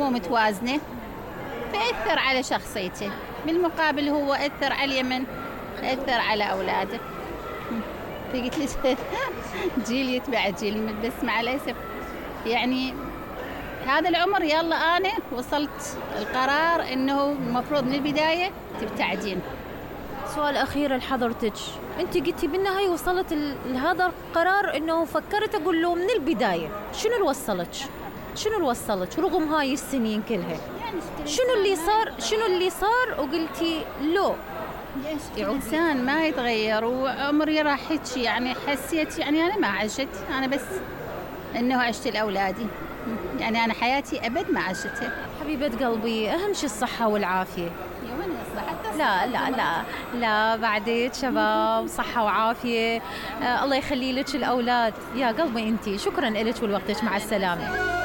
مو متوازنة فأثر على شخصيته، بالمقابل هو أثر على اليمن، أثر على أولاده. فقلت لي جيل يتبع جيل، بس مع الأسف يعني هذا العمر يلا أنا وصلت القرار إنه المفروض من البداية تبتعدين. سؤال أخير لحضرتك، أنت قلتي بالنهاية وصلت لهذا القرار إنه فكرت أقول له من البداية، شنو اللي وصلك؟ شنو اللي وصلك رغم هاي السنين كلها؟ شنو اللي صار وقلتي له؟ إنسان ما يتغير وعمري راح هيك، يعني حسيت يعني أنا ما عشت، أنا بس إنه عشت لأولادي، يعني أنا حياتي أبد ما عشتها. حبيبة قلبي أهم شيء الصحة والعافية. لا بعدك شباب صحة وعافية. الله يخلي لك الأولاد يا قلبي. أنتي شكرا لك ولوقتك، مع السلامة.